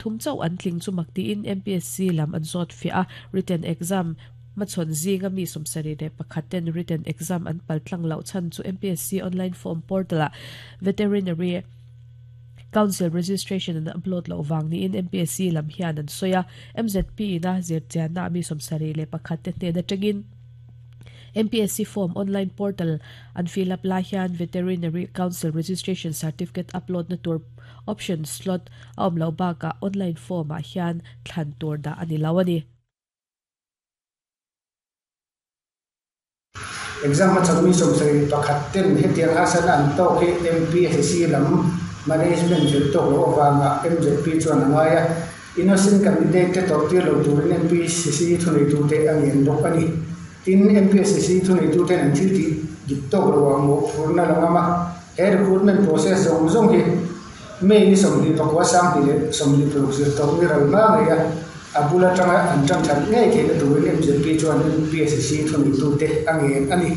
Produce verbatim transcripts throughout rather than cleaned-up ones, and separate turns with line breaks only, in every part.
Thum chau an tling chu makti in M P S C lam an zawt fia a written exam machon zinga mi somsari le pakhaten written exam an paltlang lo chan chu M P S C online form portal a veterinary Council registration an upload lo wang ni in M P S C lam hian an soya M Z P na zirchian na mi somsari le pakhatte hne na tangin M P S C form online portal an fill up la hian Veterinary Council registration certificate upload na tur option slot a awm lo baka online form a hian thlan tur da ani lawani.
Exam ma chami somsari pakhatten hetiang hasan an to ke M P S C lam management jil to lo wanga M Z P chuan angaya innocent candidate te tor ti lo turin M P S C thunei tu te angen bok ani tin M P S C thunei tu te an thil ti dik tok lo mo phurna langama he recruitment process zong zong hi me ni somli pakwa sang ti le somli pro zir to ni ral ma nge ya abula tanga an tang than nge ke na turin M Z P chuan M P S C thunei tu te angen ani.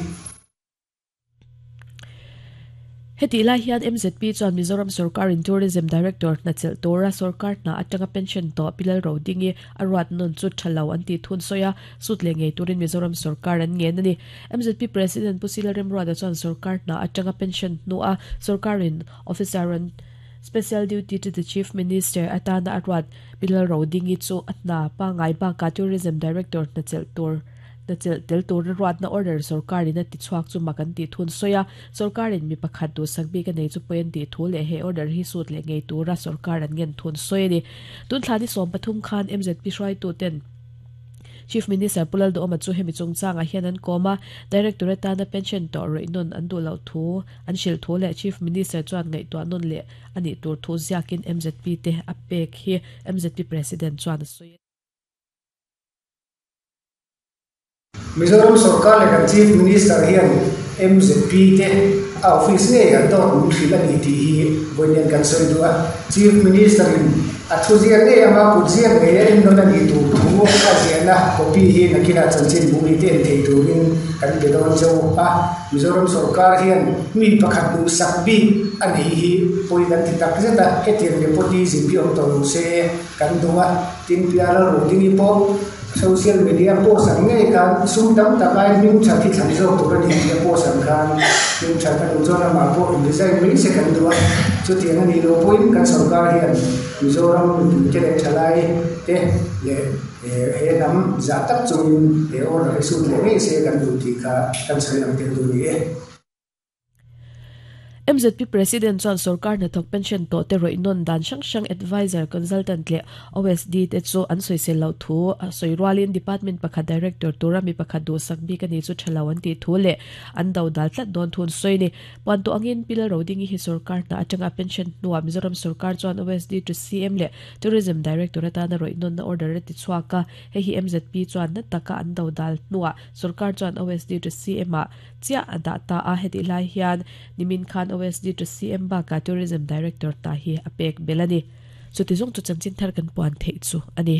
Heti lai hian M Z P chuan Mizoram Sarkar in Tourism Director na chel tora sarkar na atanga pension to pilal rodingi arwat non chu thalo an ti thun soya sut le ngei turin Mizoram Sarkar an ngen ani. M Z P President Pusila Remruada chuan sarkar na atanga pension nu a sarkar in officer an special duty to the Chief Minister atana arwat pilal rodingi chu atna pa ngai ba ka Tourism Director na chel tur na chel tel tur ruat na order sarkar in ti chuak chu makan ti thun soya sarkar in mi pakhat du sakbi ka nei chu poin ti thu le he order hi sut le ngei tura sarkar an ngen thun soya ni tun thlani som pathum khan M Z P hrai tu ten Chief Minister Pulal do ma chu hemi chungchang a hian an koma Directorate na pension to reinon an du lo thu an shil thu le Chief Minister chuan ngai to anon le ani tur thu ziakin M Z P te apek hi M Z P President chuan soya.
Mizoram Sarkar le kan Chief Minister hian M Z P te office nge an to mun thil ani ti hi voinian kan soi dua Chief Minister in a thu ziak nge ama put ziak nge en non ani tu thu a ziana copy hi nakina chanchin bu ni te en thei turin kan pe don cheu a Mizoram Sarkar hian mi pakhat du sak bi ani hi poi kan ti tak zeta hetiang nepotism bi om to lo se kan dunga tin piala ro ding po social media post ang nge kan sum dam takai ming tha thi thlan zo tur ani media post ang khan ming tha ka du zona ma po in design mai se kan duwa chu tiang ani lo point kan sarkar hian Mizoram mi te le thalai te le he nam za tak chungin he or he su le nge se kan du ti kha kan sai ang tel du ni e.
M Z P President chuan sarkar na thok pension to te roinon dan sang sang advisor consultant le O S D te chu an soisel lo thu soirwalin department pakhat director tura mi pakhat du sakbi ka ni chu thalawan ti thu le an do dal tlat don thun soini pon to angin pilal roding hi sarkar na atanga pension nuwa Mizoram Sarkar chuan O S D to C M le tourism director atana roinon na order ti chuaka he hi M Z P chuan na taka an do dal nuwa sarkar chuan O S D to C M a chia ada ta a heti lai hian nimin khan O S D to C M ba ka Tourism Director ta hi apek belani chu ti zong chu chanchin thar kan puan thei chu ani.